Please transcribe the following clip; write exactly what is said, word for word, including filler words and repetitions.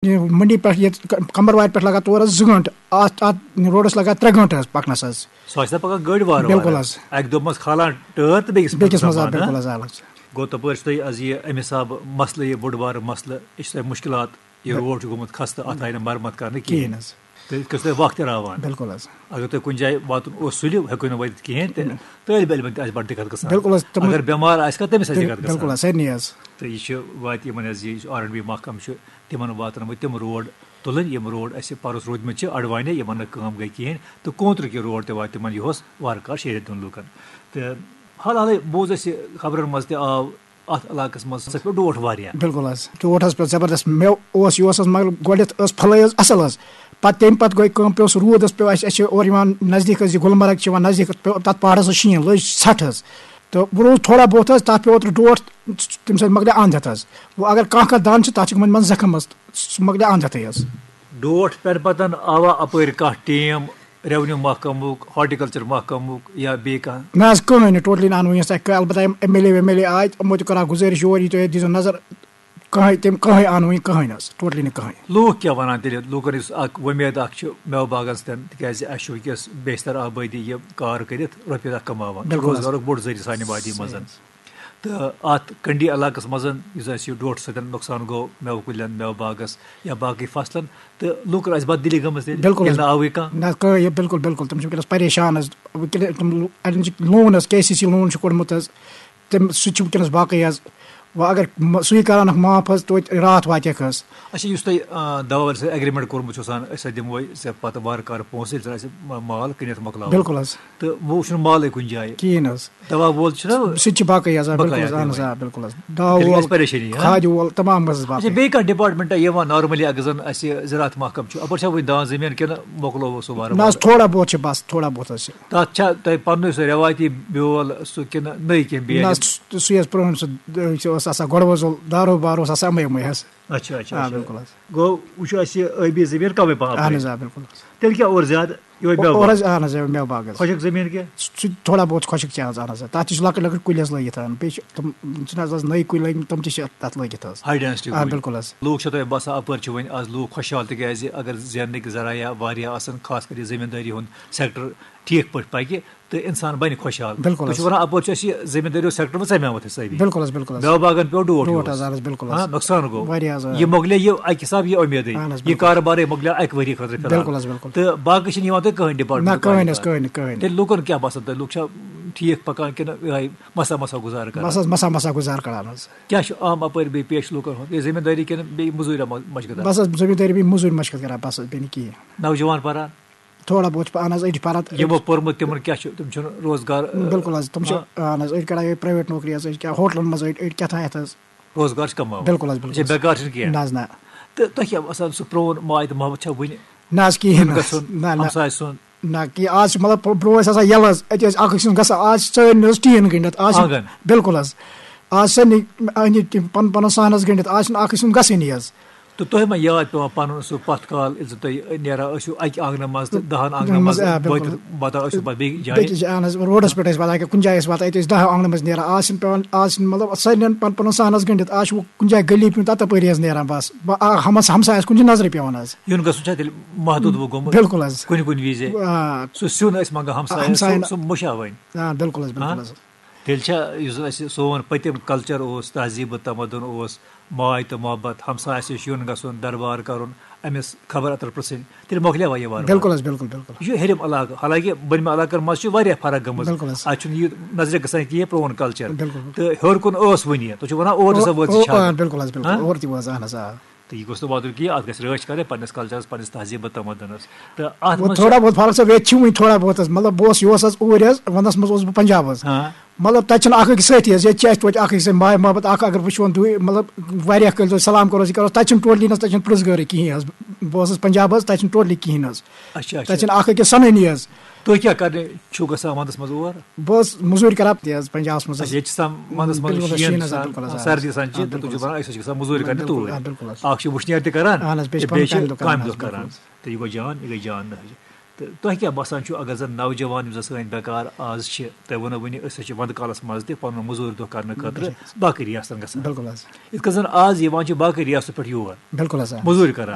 یہِ منڈی پٮ۪ٹھ ییٚتہِ ک-، کمروارِ پٮ۪ٹھ لگان تورس زٕ گٲنٛٹہٕ، اتھ، اتھ روڈس لگان ترٛےٚ گٲنٛٹہٕ حظ پکنس حظ۔ سُہ آسہِ نہ پکان گٲڑۍ وارٕ وارٕ۔ بِلکُل حظ۔ اکہِ دۄہ منٛز کھالان ٹٲر تہٕ بیٚکِس منٛز بیٚکِس منٛز آ، دبان، ہاں؟ بِلکُل حظ، آ، بِلکُل حظ۔ گوٚو تپٲرۍ چھُ تۄہہِ از یہِ امہِ حسابہٕ مسلہٕ، یہِ بوٚڑ بارٕ مسلہٕ، یہِ چھُ تۄہہِ مُشکلات، یہِ بِل-، روڈ چھُ گوٚمُت خستہٕ، اتھ آیہِ نہٕ مرمت کرنہٕ کِہیٖنۍ۔ کِہیٖنۍ حظ۔ تہٕ یِتھ کٔنۍ چھُ تۄہہِ وقت تہِ راوان۔ بِلکُل حظ۔ اگر تۄہہِ کُنہِ جایہِ واتُن اوس سُلہِ، ہیٚکِو نہٕ وٲتِتھ کِہیٖنۍ تہٕ، بِلکُل۔ طٲلبہِ علمن تہِ آسہِ بڑٕ دِقت گژھان۔ بِلکُل حظ، تِمن اگر بٮ۪مار آسہِ کانٛہہ، تٔمِس آسہِ بِل-، دِقت گژھان۔ بِلکُل حظ، سارنٕے حظ۔ تہٕ یہِ چھُ واتہِ یِمن حظ، یہِ آر اینڈ بی محکمہٕ چھُ تِمن واتنٲومٕتۍ تِم روڈ تُلٕنۍ، یِم روڈ اَسہِ پَرُس روٗدمٕتۍ چھِ اَڑوانہِ، یِمن نہٕ کٲم گٔے کِہیٖنۍ، تہٕ کونترٕ کہِ روڈ تہِ واتہِ تِمن یِہُس وارٕ کارٕ شیٚیہِ رٮ۪تھ دۄن لوٗکن۔ تہٕ حال حالٕے بوٗز اَسہِ خبرن منٛز تہِ آو اَتھ علاقس منٛز، سُہ پیوٚو ڈوٹھ واریاہ۔ بِلکُل حظ، ڈوٹھ حظ پیوٚو زبردست۔ مےٚ اوس، یہِ اوس حظ، مگر گۄڈٕنٮ۪تھ ٲس پھلٲے حظ اَصٕل حظ، پَتہٕ تَمہِ پَتہٕ گوٚو کٲم، پیوٚو سُہ روٗد حظ پیوٚو اَسہِ، اَسہِ چھِ اورٕ یِوان نزدیٖک حظ، یہِ گُلمرگ چھِ یِوان نزدیٖک، پیوٚو تَتھ پہاڑَس حظ شیٖن، لٔج ژھَٹھ حظ۔ تہٕ وۄنۍ روٗد تھوڑا بہت حظ، تَتھ پیوٚو اوترٕ ڈوٹھ، تَمہِ سۭتۍ مۄکلے اَنٛد ہٮ۪تھ حظ۔ وۄنۍ اگر کانٛہہ کانٛہہ دَنٛد چھِ، تَتھ چھِ گٔمٕتۍ منٛز زَخٕم حظ، سُہ مۄکلے اَنٛد ہٮ۪تھٕے حظ۔ ڈوٹھ پٮ۪نہٕ پَتَن آوا اَپٲرۍ کانٛہہ ٹیٖم ریونیو محکمُک، ہارٹیکلچر محکمُک یا بیٚیہِ کانٛہہ؟ نہ حظ، کٕہٕنۍ نہٕ، ٹوٹلی نہٕ آنوٕے حظ تۄہہِ۔ البتہ یِم ایم ایل اے ویم ایل اے آے، یِمو تہِ کٔر اَکھ گُزٲرِش یور، یہِ تُہۍ دِیٖزیو نظر، کٕہٕنۍ تِم، کٕہٕنۍ آنوٕے، کٕہٕنۍ حظ، ٹوٹلی نہٕ کٕہٕنۍ۔ لوٗکھ کیٛاہ وَنان تیٚلہِ؟ لوٗکَن یُس اَکھ وۄمید اَکھ چھِ مٮ۪وٕ باغَن سۭتۍ، تِکیٛازِ اَسہِ چھُ وٕنکیٚس بیشتر آبٲدی یہِ کار کٔرِتھ رۄپیہِ دَہ کَماوان، بِلکُل حظ۔ روزگارُک بوٚڑ ذٔریعہٕ سانہِ وادی منٛز۔ صحیح حظ۔ تہٕ اَتھ کنڈی علاقَس منٛز، یُس اَسہِ یہِ ڈوٹھ سۭتۍ نۄقصان گوٚو مٮ۪وٕ کُلٮ۪ن، مٮ۪وٕ باغَس یا باقٕے فصلَن، تہٕ لوٗکَن آسہِ بَد دِلی گٔمٕژ تیٚلہِ، بِلکُل ییٚلہِ حظ۔ نہٕ آوٕے کانٛہہ۔ نہ، کٕہٕنۍ، یہِ بِلکُل، بِلکُل، تِم چھِ وٕنکیٚنَس پریشان حظ۔ وٕنکیٚنَس تِم لو-، اَڑٮ۪ن چھِ لون حظ، کے سی سی لون چھُ کوٚڑمُت حظ، تِم، سُہ تہِ چھُ وٕنکیٚنَس باقٕے حظ۔ وۄنۍ اگر م-، سُے کَرَنَکھ معاف حظ، توتہِ راتھ واتٮ۪کھ حظ۔ اچھا، یُس تۄہہِ، آ، دَوا وٲلۍ سۭتۍ ایگریمنٹ کوٚرمُت چھُ آسان، أسۍ ہسا دِموے ژےٚ پَتہٕ وارٕ کارٕ پونٛسہٕ، ییٚلہِ زَن اَسہِ ما-، مال کٕنِتھ مۄکلاوو۔ بِلکُل حظ۔ تہٕ وۄنۍ چھُنہٕ مالٕے کُنہِ جایہِ۔ کِہیٖنۍ حظ۔ دَوا وول چھُنہ سُہ تہِ چھُ باقٕے حظ، آ، بقایا بِلکُل حظ، اہن حظ، دِوان۔ آ، بِلکُل حظ۔ دَوا تیٚلہِ وول، گژھِ پریشٲنی، ہاں؟ کھادِ وول، تمام حظ اچھا، باقٕے۔ بیٚیہِ کانٛہہ ڈپارٹمنٹا یِوان نارملی، اگر زَن اَسہِ زِراعت محکمہٕ چھُ، اَپٲرۍ چھا وٕنہِ دان زٔمیٖن کِنہٕ مۄکلووُ سُہ وارٕ نہ حظ، وارٕ؟ تھوڑا بہت چھِ بَس، تھوڑا بہت حظ چھِ۔ تَتھ چھا تۄہہِ پَننُے سُہ رٮ۪وایتی بیول سُہ کِنہٕ نٔے کینٛہہ بیٚیہِ نہ حظ، اَنِن؟ سُہ، سُہ یۄس پرٛٲنۍ سُہ، سُہ اوس آسان گۄڈٕ وۄزُل دارو بارو اوس آسان اَمے اَمے حظ۔ اچھا، اچھا، آ، اچھا۔ بِلکُل حظ۔ گوٚو، وۄنۍ چھُ اَسہِ یہِ ٲبی زٔمیٖن کَمٕے پَہَم اَہَن پَہَم۔ حظ، آ، بِلکُل حظ۔ تیٚلہِ کیٛاہ اورٕ زیادٕ؟ یِہوٚے مٮ۪وٕ اورٕ باغ۔ حظ، اَہَن حظ، یِہوٚے مٮ۪وٕ باغ حظ۔ خۄشک زٔمیٖن کیٛاہ؟ سُہ چھُ تھوڑا بہت خۄشک چھِ حظ، اَہَن حظ۔ تَتھ تہِ چھِ لۄکٕٹۍ لۄکٕٹۍ کُلۍ حظ لٲگِتھ، اَہَن۔ بیٚیہِ چھِ تِم، چھِنہٕ حظ آز نٔوۍ کُلۍ لٲگۍمٕتۍ، تِم تہِ چھِ تَتھ لٲگِتھ حظ۔ ہاے ڈینسٹی آ، کُلۍ۔ بِلکُل حظ۔ لوٗکھ چھا تۄہہِ باسان اَپٲرۍ چھِ وۄنۍ آز لوٗکھ خۄشحال، تِکیٛازِ اگر زیننٕکۍ ذرایع واریاہ آسَن، خاص کر یہِ زٔمیٖندٲری ہُنٛد سیکٹر ٹھیٖک پٲٹھۍ پَکہِ، تہٕ اِنسان بَنہِ خۄشحال۔ بِلکُل تُہۍ چھِو حظ۔ وَنان اَپٲرۍ چھُ اَسہِ یہِ زٔمیٖندٲری ہُنٛد سیکٹر وۄنۍ ژَمیومُت اَسہِ سٲری۔ بِلکُل حظ، بِلکُل حظ۔ مٮ۪وٕ باغن پیوٚو ڈوٹھ ڈوٹھ یِہُس۔ حظ، اَہَن حظ، بِلکُل ہاں، حظ۔ نۄقصان گوٚو۔ واریاہ حظ، آ۔ یہِ مۄکلے یہِ اَکہِ حساب یہِ اُمیدٕے۔ اَہَن حظ، یہِ بِلکُل۔ کارٕبارٕے مۄکلیو اَکہِ ؤری خٲطرٕ فِلحال۔ بِلکُل حظ، بِلکُل۔ تہٕ باقٕے چھِنہٕ یِوان تۄہہِ کٕہٕنۍ نہ، ڈپارٹمنٹ کٕہٕنۍ حظ، کَران؟ کٕہٕنۍ نہٕ، کٕہٕنۍ۔ تیٚلہِ لوٗکَن کیٛاہ باسان تۄہہِ؟ لوٗکھ چھا ٹھیٖک پَکان کِنہٕ یِہوٚے مَسا مَسا گُزارٕ کَران؟ بَس حظ، مَسا مَسا گُزارٕ کَران حظ۔ کیٛاہ چھُ عام اَپٲرۍ بیٚیہِ پیش لوٗکَن ہُنٛد؟ یہِ زٔمیٖندٲری کِنہٕ بیٚیہِ مٔزوٗرۍ مَ-، مَشقہٕ کَران؟ بَس حظ، زٔمیٖندٲری بیٚیہِ مٔزوٗرۍ مَشقہٕ کَران، بَس حظ، بیٚیہِ نہٕ کِہیٖنۍ۔ نوجوان پَران؟ تھوڑا بہت چھِ پانہٕ حظ أڑۍ پَران۔ یِمو پوٚرمُت تِمَن کیٛاہ چھُ؟ تِم چھِنہٕ روزگار، بِلکُل حظ، تِم چھِ، ہاں۔ اہن حظ، أڑۍ کَران یِہوٚے پرٛایویٹ نوکری حظ، أڑۍ کیٛاہ ہوٹلَن منٛز، أڑۍ، أڑۍ کیٛاہ تام ہٮ۪تھ حظ۔ روزگار چھِ کَماوان۔ بِلکُل حظ، بِلکُل اچھا، حظ۔ بیکار چھِنہٕ کینٛہہ۔ نہ حظ، نہ۔ تہٕ تۄہہِ کیٛاہ باسان، سُہ پرٛون ماے تہٕ محبت چھا وُنہِ؟ نہ حظ، کِہیٖنۍ نہ حظ۔ گژھُن، نہ، نہ۔ ہمسایہِ سُنٛد؟ نہ، کِہیٖنۍ۔ آز چھِ مطلب برٛو-، برٛونٛہہ ٲسۍ آسان یَلہٕ حظ، أتی ٲسۍ اَکھ أکۍ سُنٛد گژھان، آز چھِ سٲلِم حظ ٹیٖن گٔنٛڈِتھ، آز چھِ آنٛگَن۔ بِلکُل حظ۔ آز چھِ سارنٕے أنٛدۍ أنٛدۍ تِم پَنُن پَنُن صحن حظ گٔنٛڈِتھ، آز چھِنہٕ اَکھ أکۍ سُنٛد گژھٲنی حظ۔ تہٕ تۄہہِ ما یاد پٮ۪وان پَنُن سُہ پَتھ کال، ییٚلہِ زَن تُہۍ نیران ٲسِو اَکہِ آنٛگنہٕ منٛز تہٕ دَہَن آنٛگنَن منٛز آ، بِلکُل۔ وٲتِتھ واتان ٲسِو پَتہٕ بیٚیہِ جایہِ؟ بیٚکِس جایہِ، اہن حظ، روڈَس پٮ۪ٹھ ٲسۍ واتان، کُنہِ جایہِ ٲسۍ واتان، أتی ٲسۍ دَہ آنٛگنَن منٛز نیران۔ آز چھِنہٕ پٮ۪وان، آز چھِنہٕ مطلب سارنٕے پَنُن پَنُن صحن حظ گٔنٛڈِتھ، آز چھُ کُنہِ جایہِ گٔلی پیوٚن، تَتھ تَپٲری حظ نیران بَس۔ بہٕ، آ، ہمس-، ہمسایَس کُن چھِ نظرِ پٮ۪وان حظ۔ یُن گژھُن چھا تیٚلہِ محدوٗد وۄنۍ گوٚمُت؟ بِلکُل حظ۔ کُنہِ کُنہِ وِزِ؟ آ۔ سُہ سیُن ٲسۍ منٛگان ہمسایَس، ہمسایَن۔ سُہ، سُہ مُشا وۄنۍ۔ آ، بِلکُل حظ، بِلکُل ہاں؟ حظ۔ تیٚلہِ چھا یُس زَن اَسہِ سون پٔتِم کَلچَر اوس، تہذیٖب و تمدُن اوس، ماے تہٕ محبت، ہمسایَس نِش یُن گژھُن، دربار کَرُن، أمِس خبر اَتر پِرٛژھٕنۍ، تیٚلہِ مۄکلیوا یہِ وارٕ وارٕ؟ بِلکُل حظ، بِلکُل، بِلکُل۔ یہِ چھُ ہیٚرِم علاقہٕ، حالانکہِ بٔنمہِ علاقَن منٛز چھِ واریاہ فرق گٔمٕژ۔ بِلکُل حظ۔ اَتہِ چھُنہٕ یہِ نظرِ گژھان کہِ یہِ پرٛون کَلچَر۔ بِلکُل، بِلکُل۔ تہٕ ہیوٚر کُن ٲس وُنہِ یہِ، تُہۍ چھِو وَنان اور ہسا او-، وٲژ یہِ او-، چھانہٕ۔ آ، بِلکُل حظ، بِلکُل۔ ہاں؟ اور تہِ وٲژ، اہن حظ، آ۔ تہٕ یہِ گوٚژھ نہٕ واتُن کینٛہہ، اَتھ گژھِ رٲچھ کَرٕنۍ پنٛنِس کَلچَرَس، پنٛنِس تہذیٖب و تمدُنَس۔ تہٕ اَتھ وۄنۍ منٛز چھِ تھوڑا بہت فرق چھِ، ییٚتہِ چھِ وٕنہِ تھوڑا بہت حظ، مطلب، بہٕ اوسُس، یہِ اوس حظ اوٗرۍ حظ، وَنٛدَس منٛز اوسُس بہٕ پنٛجاب حظ۔ ہاں۔ مطلب، تَتہِ چھِنہٕ اَکھ أکِس سۭتی حظ، ییٚتہِ چھِ اَسہِ توتہِ اَکھ أکِس سۭتۍ ماے محبت اَکھ، اگر وٕچھون دوٗرِ، مطلب، واریاہ کٲلۍ سلام کَرو أسۍ، یہِ کَرو، تَتہِ چھِنہٕ ٹوٹلی نہ حظ، تَتہِ چھِنہٕ پرٛژھ گٲرٕے کِہیٖنۍ حظ۔ بہٕ اوسُس پنٛجاب حظ، تَتہِ چھِنہٕ ٹوٹلی کِہیٖنۍ حظ۔ اچھا، اچھا۔ تَتہِ چھِنہٕ اَکھ أکِس سَنٲنی حظ۔ تُہۍ کیٛاہ کَرنہِ چھُو گژھان وَنٛدَس منٛز اور؟ بہٕ حظ مٔزوٗرۍ کَران تہِ حظ، پنٛجابَس منٛز حظ۔ اچھا، ییٚتہِ چھِ آسان وَنٛدَس منٛز بِلکُل حظ، شیٖن شیٖن چھِ آسان، آسان، بِلکُل حظ، آ۔ سردی آسان چھِ، آ، تہٕ تُہۍ چھِو بِلکُل۔ وَنان أسۍ حظ چھِ گژھان مٔزوٗرۍ کَرنہِ بِلکُل، توٗرۍ۔ آ، بِلکُل حظ۔ اَکھ چھِ وٕشنیر تہِ کَران، اَہَن حظ، بیٚیہِ چھِ تہٕ بیٚیہِ پَنُن چھِ کامہِ دۄہ کامہِ کَران۔ دۄہ کَران۔ تہٕ یہِ گوٚو جان، یہِ گٔے جان نہ حظ۔ تہٕ تۄہہِ کیٛاہ باسان چھُ، اگر زَن نوجوان یِم زَن سٲنۍ بیکار آز چھِ، تۄہہِ ووٚنوُ وٕنی، أسۍ حظ چھِ وَنٛدٕ کالَس منٛز تہِ پَنُن مٔزوٗرۍ دۄہ کَرنہٕ خٲطرٕ بِلکُل۔ باقٕے رِیاستَن گژھان۔ بِلکُل حظ۔ یِتھ کٔنۍ زَن آز یِوان چھِ باقٕے رِیاستو پٮ۪ٹھ یور بِلکُل حظ، آ۔ مٔزوٗرۍ کَران۔